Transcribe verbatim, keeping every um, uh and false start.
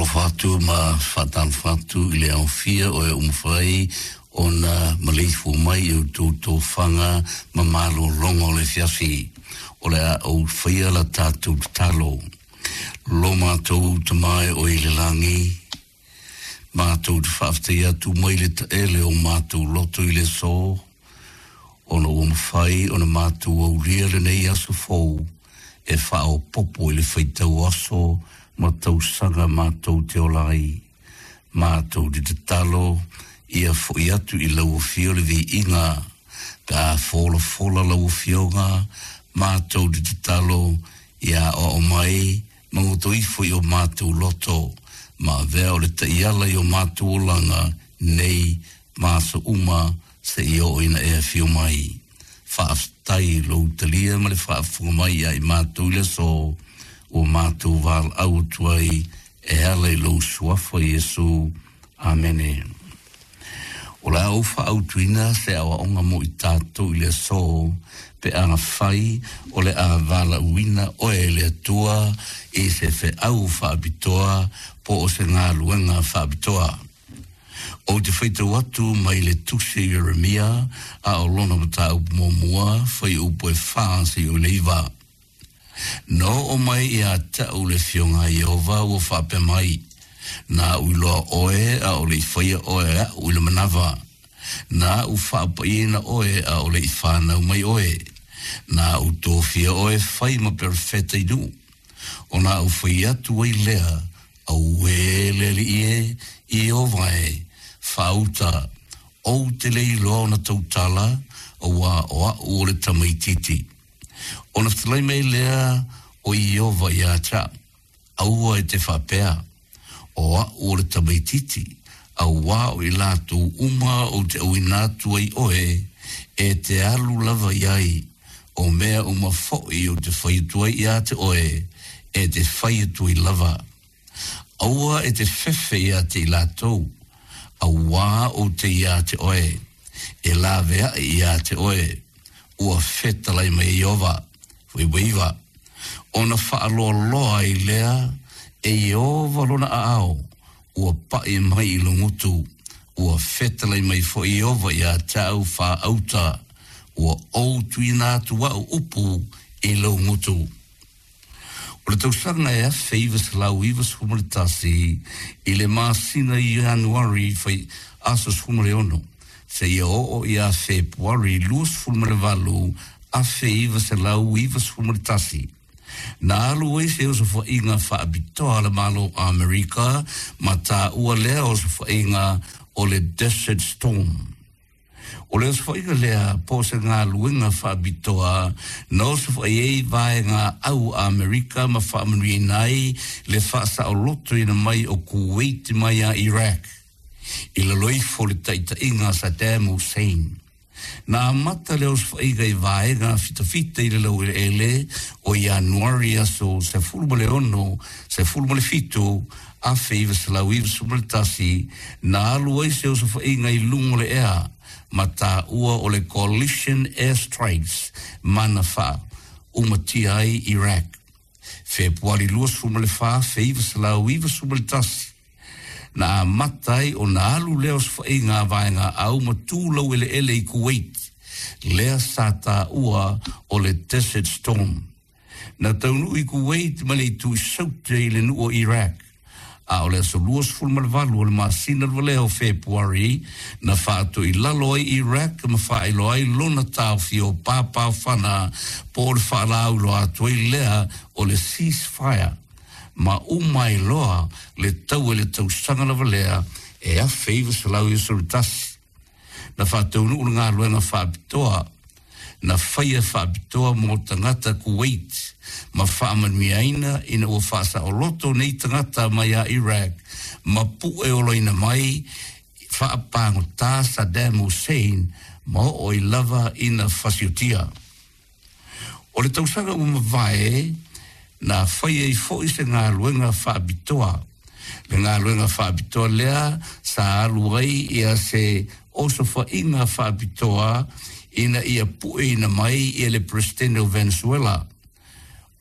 Faatalofa atu ma faatalofa atu i le aofia o e ua mafai ona maleifua mai i outou tofaga ma malologa o le afiafi. O le a ou faia la tatou tatalo. Lo matou Tama e oe i le lagi, matou te faafetai atu mai le taele o matou loto i le aso, ona ua mafai ona matou aulia lenei aso fou e faaopoopo i le faitau aso ma tausaga matou te ola ai. Matou te tatalo ia fo'i atu i lau afio le viiga pe a folafola lau afioga, matou te tatalo ia aoao mai ma goto ifo i o matou loto ma avea o le taiala i o matou olaga nei ma aso uma seia oo ina e afio mai. Faafetai i lou talia ma le faafofoga mai ia i matou i le aso ua matou valaau atu ai e ala i lou suafa Iesu. Amene. O le a ou faaautuina se aoaoga mo i tatou i le aso pe afai o le a valaauina oe e le Atua i se feau faapitoa po o se galuega faapitoa. Ou te faitau atu mai le tusi a Ieremia a o lona mataupu muamua, fuaiupu e fa seia oo i le iva. Na oo mai ia te a'u le afioga a Ieova ua faapea mai, Na a'u iloa oe a o le i faia oe e a'u i le manava. Na a'u faapaiaina oe a o le i fanau mai oe. Na a'u tofia oe e fai ma perofeta i nuu. Ona a'u fai atu ai lea, Auē le Alii e, Ieova e, faauta, ou te le iloa ona tautala, auā o a'u o le tamaitiiti. Ona fetalai mai lea o Ieova ia te a'u, Aua e te faapea, O a'u o le tamaitiiti, auā o i latou uma ou te auina atu ai oe, e te alu lava i ai, o mea uma fo'i ou te fai atu ai ia te oe, e te fai atu ai lava. Aua e te fefe ia te i latou, auā ou te ia te oe, e laveaʻi ia te oe, ua fetalai mai e Ieova. Fuaiupu iva. Ona faaloaloa ai lea e Ieova lona aao, ua pa'i mai i lou gutu, ua fetalai mai foi Ieova ia te au faauta, ua ou tuuina atu a'u upu i lou gutu. O le tausaga e afe iva selau iva sefulu ma le tasi i le masina Ianuari fai aso sefulu ma le ono seia oo ia Fepuari lua sefulu ma le valu afe iva selau iva sefulu ma le tasi, na alu ai se osofaiga faapitoa a le Malo o Amerika ma taua lea osofaiga o le Desert Storm. O le osofaiga lea po o se galuega faapitoa na osofai ai vaega au a Amerika ma faamanuiaina ai le faasaolotoina mai o Kuwait mai ia Iraq i lalo ifo o le taitaiga a Saddam Hussein. Na amata le osofaiga i vaega fitafita i le laueleele o Ianuari aso sefulu ma le ono, sefulu ma le fitu, afe iva selau iva sefulu ma le tasi, na alu ai se osofaiga i luga o le ea ma taua o le Coalition Air Strikes ma na faaumatia ai Iraq. Fepuari luasefulu ma le fa, afe iva selau iva sefulu ma le tasi, na amata ai ona alu lea osofaiga a vaega au ma tu laueleele i Kuwait, lea sa taua o le Desert Storm. Na taunuu i Kuwait ma le itu i Saute i le nuu o Iraq, a o le aso luasefulu ma le valu o le masina lava lea o Fepuari na faatoilalo ai Iraq ma faailoa ai lona taofia o pāpāofana po o le faalauiloa atu ai lea o le ceasefire ma uma ai loa le taua i le tausaga lava lea e afe iva selau iva sefulu tasi. Na faataunuu le galuega faapitoa na faia faapitoa mo tagata Kuwait ma faamanuiaina ina ua faasaoloto nei tagata mai a Iraq ma pu'e olaina mai faapagotā Saddam Hussein ma oo ai lava ina fasiotia. O le tausaga ua mavae na fai ai foi se galuega faapitoa. Le galuega faapitoa lea sa alu ai ia se osofaiga faapitoa ina ia pu'eina mai ia le Peresetene o Venezuela.